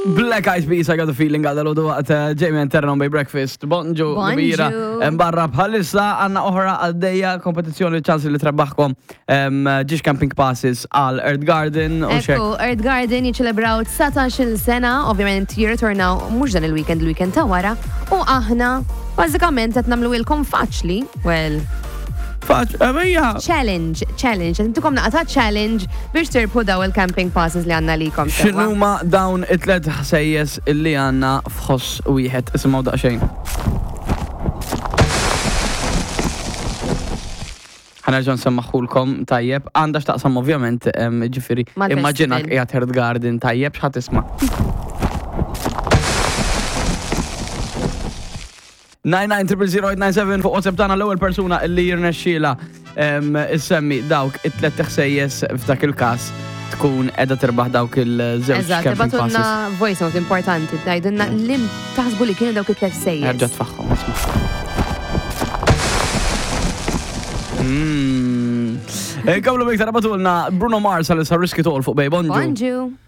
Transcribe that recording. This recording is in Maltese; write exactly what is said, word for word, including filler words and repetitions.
Black Eyed Peas, I Got a Feeling, għadha l waqt eh, Jamie and Terran by Breakfast. Bonġu, Bonġu. kbira. Em, Barra bħalissa għanna oħra għaddejja kompetizzjoni ċans li trebbaħkom em, ġiex camping passes għal Earth Garden u xek. Ekku, Earth Garden jiċċelebraw dsatax-il sena, ovvjament jirritornaw mhux dan il-weekend, il-weekend ta' wara, u aħna bażikament qed nagħmluhielkom faċli, well, Faċ, ejja. Challenge, challenge, qed intukom naqra ta' challenge biex tirbħu daw il-camping passes li għandna likom. Sewwa. X'inhuma dawn it-tlet ħsejjes illi għandna f'ħoss wieħed? Isimgħu daqsxejn. Ħa nerġa' nsemmaħulkom tajjeb, għandha x'taqsam ovvjament, em, ġifieri, mal-festival. Immaġinak qiegħed Earth Garden tajjeb, x'ħa tisma'. nine nine zero zero zero eight nine seven fuq WhatsApp tagħna, l-ewwel persuna li jirnexxiela em, issemmi dawk it-tlet ħsejjes f'dak il-każ tkun qiegħda tirbaħ dawk il-żewġ Eżatt, camping ibagħtulna passes. Voice note importanti, tgħidulna lim taħsbu li kienu dawk it-tlet ħsejjes. Erġa' tfaħħom, isma'. Mm. Komplu bik ibagħtulna Bruno Mars għal Risk It All fuq Bay. Bonġu. Bonġu.